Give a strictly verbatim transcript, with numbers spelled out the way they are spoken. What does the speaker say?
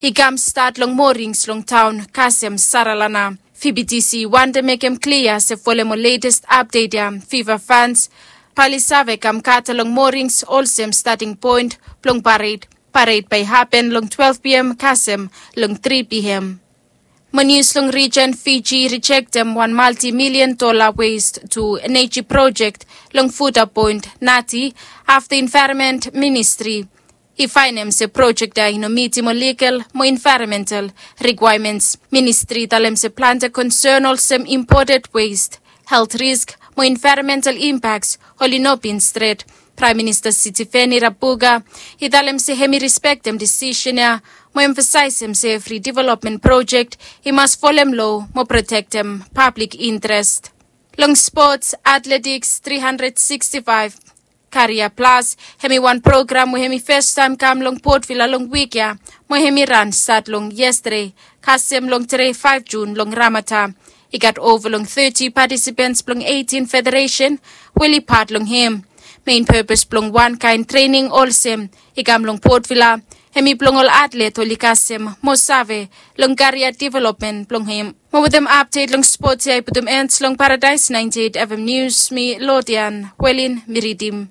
I kam stat long morings long taon kasem saralana. Fibitisi wante mekem klia se folem ol letest apdet ya fiva fans, bae oli save kam kata long morings olsem stating poen blong pared. Pared bae i hapen long twelve pm kasem long three pm. Mo nius long rijen, Fiji rijektem wan maltimilian dola west tu eneji projek long fuda poen nati afta envaeronment ministri i faenem se projek ya i no mitim ol ligal mo envaeronmental rikwaemens. Ministri i talem se plante konsen olsem impoted west, helt risk mo envaeronmental impaks oli no bin stret. Praem Minista Sitiveni Rabuka i talem se hem i rispektem disisen ya mo emfasaesem se evri developmen projek i mas folem loa mo protektem pablik intrest. Long spots, atletiks tri handred siksti faef, Karia Plas hem i wan program we hem i fastaem kam long Potvila long wik ya, mo hem i ran stat long yestade kasem long tede faef Jun long Ramata. I gat ova long teti patisipens blong eitin federesen we oli pat long hem. Mein pepes blong wan kaen trening olsem i kam long Potvila hem i blong ol atlet oli kasem mo save long karia developmen blong hem. Mo wetem apdet long spots ya i putum en long Paradaes ninety eight FM Nius, mi Lodian Welin mi ridim.